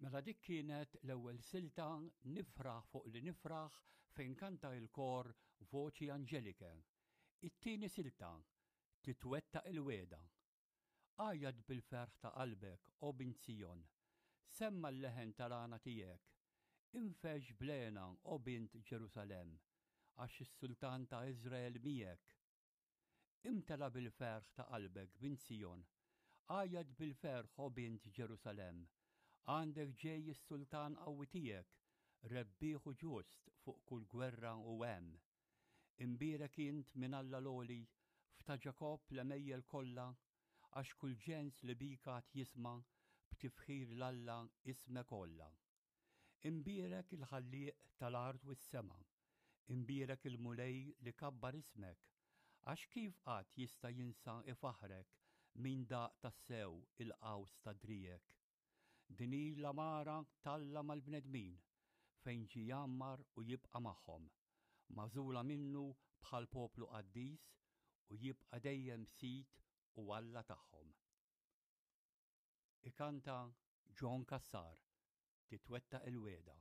Mela dik kienet l-ewwel silta Nifraħ fuq li nifraħ fejn kanta il-kor Voċi Anġelike. It-tieni silta Titwettaq il-Wegħda. Għajjat bil-ferħ ta' qalbek, O bint Sijon! Semma' l-leħen tal-għana tiegħek! Infexx bl-hena, O bint Ġerusalemm, għax is-Sultan ta' Iżrael miegħek! Imtela bil-ferħ ta' qalbek, bint Sijon! Għajjat bil-ferħ, O bint Ġerusalemm! Għandek ġej is-Sultan qawwi tiegħek, rebbieħ u ġust fuq kull gwerra u hemm. Imbierek int minn Alla l-Għoli, f'ta' Ġakobb l-għemejjel kollha, għax kull ġens li bik għad jisma' b'tifħir 'l Alla ismek għolla. Imbierek il-Ħallieq tal-art u s-sema, imbierek il-Mulej li kabbar ismek, għax kif qatt jista' jinsa ifaħħrek min daq tassew il-qaws ta' driegħek? Din hi l-għamara t'Alla mal-bnedmin, fejn ġie jgħammar u jibqa' magħhom, magħżula minnu bħal poplu qaddis u jibqa' dejjem Sid u Alla tagħhom. Ikanta John Cassar, Titwettaq il-Wegħda.